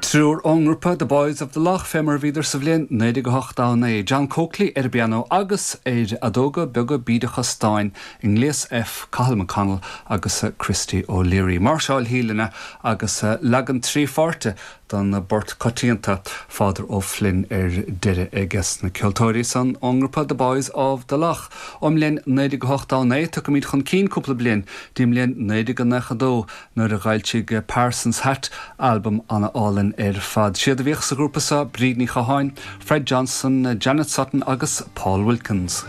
Triúr ón ngrúpa The Boys of the Lough fé mar a bhíodar sa bhliain 1989, John Coakley ar an bpianó agus ar fheadóga beaga bídeacha stáin i ngléas F, Cathal McConnell agus Christy O'Leary. Máirseáil Shíleanna agus leagan 3 pháirte den bport coitianta Father O'Flynn ar deireadh aige na ceoltóirí san ón ngrúpa The Boys of the Lough. Ón mbliain 1989 tiocfaimid chun cinn cúpla bliain dtí'n mbliain 1992 nuair a d'fhoilsigh Parsons Hat albam an-álainn ar fad. Siad a bhíodh sa ghrúpa seo Bríd Ní Chatháin, Fred Johnson, Janet Sutton agus Paul Wilkins.